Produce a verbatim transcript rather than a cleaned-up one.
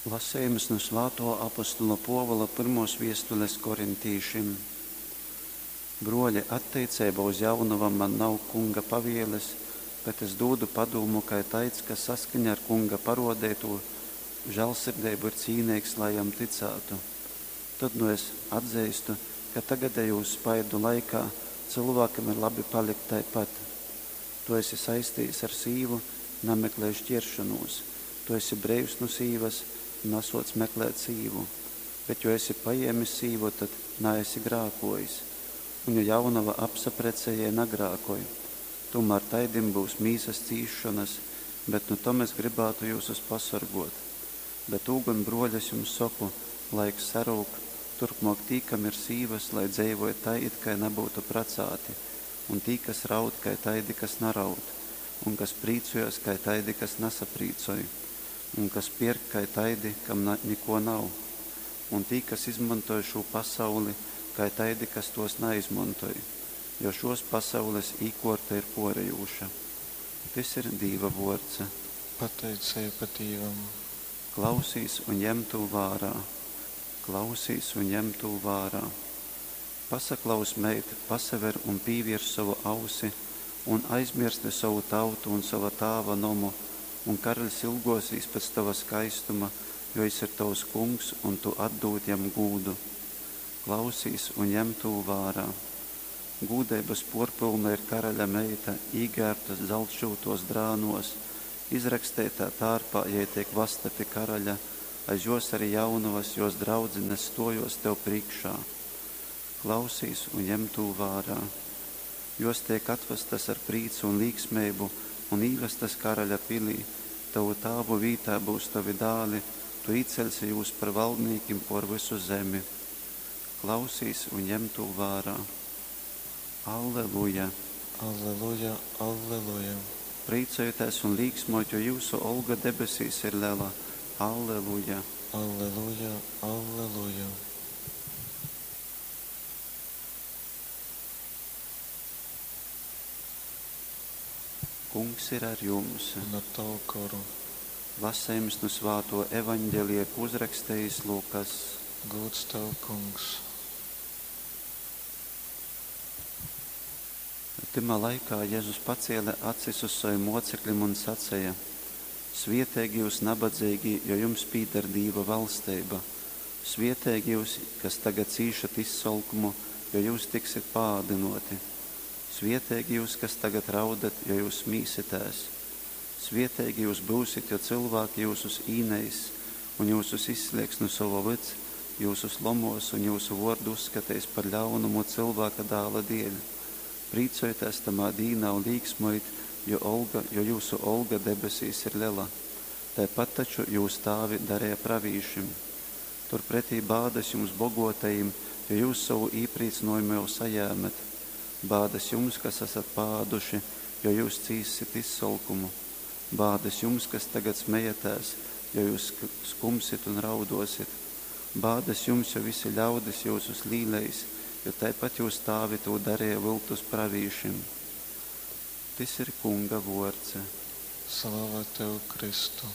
Lasejums nu svātō apostola Pōvula pyrmōs viestules korintīšim. Brōli, atteiceibā uz jaunovom man nav Kunga pavieles, bet es dūdu padūmu kai taids, kas saskaņā ar Kunga parōdeitū žāļsirdeibu ir cīneigs, lai jam tycātu. Tod nu es atzeistu, ka tagadejūs spaidu laikā cylvākam ir labi palikt taipat. Tu esi saistījis ar sīvu, nameklej šķieršonūs. Tu esi breivs nu sīvas, nasuoc meklēt sīvu. Bet, jo esi pajēmis sīvu, tad naesi grākojis. Un, jo jaunova apsaprecē, jei nagrākoj. Tūmār taidim byus mīsas cīsšonas, bet nu tom es grybātu jyusus pasorgōt. Bet tū gon, brōļi, es jums soku, laiks sarūk, turpmōk tī, kam ir sīvas, lai dzeivoj tai, it kai nabyutu pracāti, un tī, kas raud, kai taidi, kas naraud, un kas prīcojas, kai taidi, kas nasaprīcoj, un kas pierk, kai taidi, kam na, nikō nav, un tī, kas izmontoj šū pasauli, kai taidi, kas tōs naizmontoj, jo šōs pasaules īkōrta ir pōrejūša. Tys ir Dīva vōrds. Pateiceiba Dīvam. Klausīs un jem tū vārā. Klausīs un jem tū vārā. Pasaklaus, meit, pasaver un pīviers sovu ausi, un aizmiersti sovu tautu un sova tāva nomu, un karaļs ilgōsīs pēc tova skaistuma, jo jys ir tovs kungs, un tu atdūd jam gūdu. Klausīs un jem tū vārā. Gūdeibas pōrpylna ir karaļa meita, īgērbta zaltšyutōs drānōs, izraksteitā tārpā jei teik vasta pi karaļa, aiz jōs ari jaunovas, jōs draudzines stōjōs tev prīškā. Klausīs un jem tū vārā. Jōs teik atvastas ar prīcu un līksmeibu un īvastas karaļa pilī. Tovu tāvu vītā byus tovi dāli, tu īceļsi jūs par valdnīkim pōr vysu zemi. Klausīs un jem tū vārā. Alleluja! Alleluja, alleluja. Prīcojitēs un līksmojit, jo jyusu olga debesīs ir lela. Alleluja! Alleluja, alleluja. Kungs ir ar jums. Un ar tavu goru. Lasejums nu svātō Evaņgelija, ko uzrakstījis Lukas. Gūds tev, Kungs. Tymā laikā Jezus pacēle acis uz savim mocekļim un saceja: Svieteigi jūs nabadzeigī, jo jums pīdar Dīva valsteiba. Svieteigi jūs, kas tagad cīšat izsolkumu, jo jūs tiksit paādynōti. Svieteigi jūs, kas tagad raudat, jo jūs smīsitēs. Svieteigi jūs byusit, jo cylvāki jyusus īneiss un jyusus izslēgs nu sova vyds, jyusus lomōs un jyusu vōrdu uzskateis par ļaunumu Cylvāka dāla dēļ. Prīcojitēs tamā dīnā un līksmojit, jo olga, jo jyusu olga debesīs ir lela. Taipat taču jūs tāvi dareja pravīšim. Turpretī bādas jums bogotajim, jo jūs sovu īprīcynojumu jau sajēmet. Bādas jums, kas esat paāduši, jo jūs cīssit izsolkumu. Bādas jums, kas tagad smejatēs, jo jūs skumsit un raudosit. Bādas jums, jo visi ļaudis jyusus līleis, jo taipat jūs tāvi tū dareja vyltus pravīšim. Tys ir Kunga vōrds. Slava tev, Kristu.